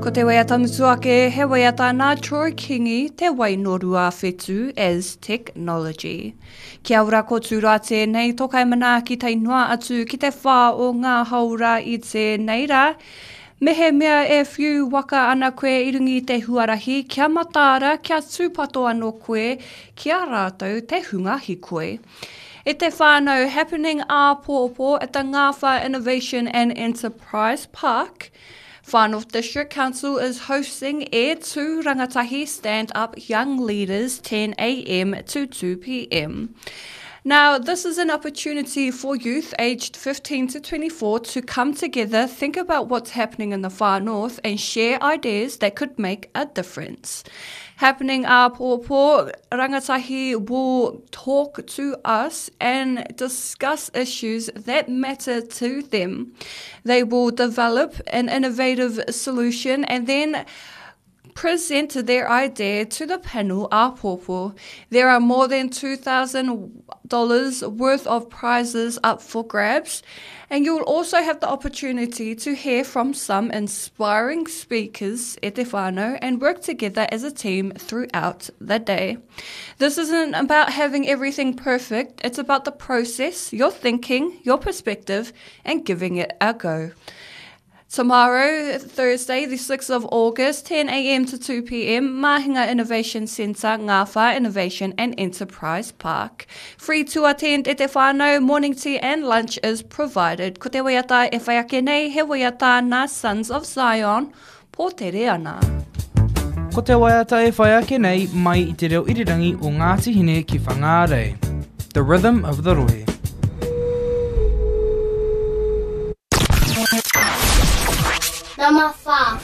Ko te waiata mutu ake, he waiata nā Troy Kingi, Te Wainorua Whetū as Technology. Kia ora ko Tūroa tēnei, tō kaimanaaki tae noa atu ki te whā o ngā haora i tēnei rā. Mehemea e whiu waka ana koe i runga i te huarahi, kia mataara, kia tūpato anō koe ki a rātou te hunga hikoi. E te whānau, happening āpōpō at the Ngāwhā Innovation and Enterprise Park, Far North District Council is hosting E Tū Rangatahi Stand Up Young Leaders 10am to 2pm. Now, this is an opportunity for youth aged 15 to 24 to come together, think about what's happening in the far north, and share ideas that could make a difference. Happening āpōpō, rangatahi will talk to us and discuss issues that matter to them. They will develop an innovative solution and then present their idea to the panel āpōpō. There are more than $2,000 worth of prizes up for grabs, and you'll also have the opportunity to hear from some inspiring speakers e te whānau and work together as a team throughout the day. This isn't about having everything perfect, it's about the process, your thinking, your perspective, and giving it a go. Tomorrow, Thursday, the 6th of August, 10am to 2pm, Mahinga Innovation Centre, Ngāwhā Innovation and Enterprise Park. Free to attend e te whānau, morning tea and lunch is provided. Ko te waiata e whai ake nei, he waiata nā Sons of Zion, Pōtere ana. Ko te waiata e whai ake nei mai i te reo irirangi o Ngāti Hine ki Whangārei. The Rhythm of the Rohe. Number 4.